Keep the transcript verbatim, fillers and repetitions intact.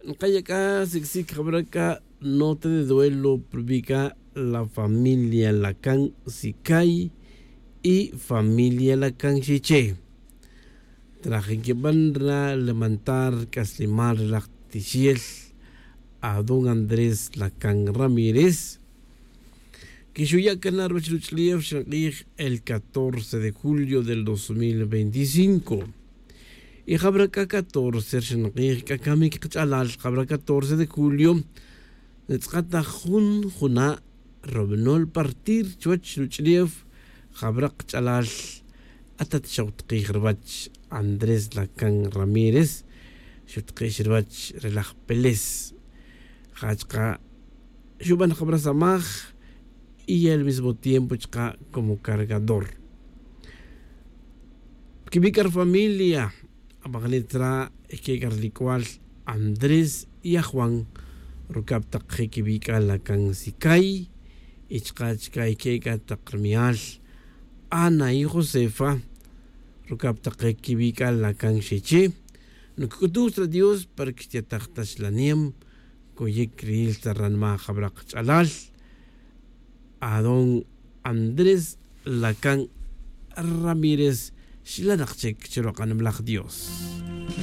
Nkaya' c'a sicsic jabra c'a nota de duelo prubi' c'a la familia lacan sicay y familia lacan xiche. Traj nquiban ra levantar c'aslimal re laj tixiel adón andrés lacan ramírez. Quixuya' cana ruwech ruch'ulef xank'ij el catorce de julio del dos mil veinticinco. Y jabra c'a catorce xank'ij c'a camic kach'alal jabra catorce de julio. Ntz'akat ta jun juna' robinol partir chuwech ruch'ulef jabra kach'alal. Atat xawtq'ij ruwech andrés lacan ramírez xutq'ix ruwech re laj peles. Ja chka' xuban jabra samaj y al mismo tiempo chka' como cargador. Quibi' c'a rufamilia abajanit ra' que c'a rilic'ual andrés y ajuan rucab tak je' quibi' c'a lacan sicay. Y chka' chca' que c'a tak rumial ana y josefa rucab tak je' quibi' c'a lacan xiche. Nuc'utuj ta dios para que xtiyataj ta xlanem. Coyic riyil ta ranma' jabra kach'alal adón andrés lacan ramírez. Xlanak chic chiruk'anam laj dios.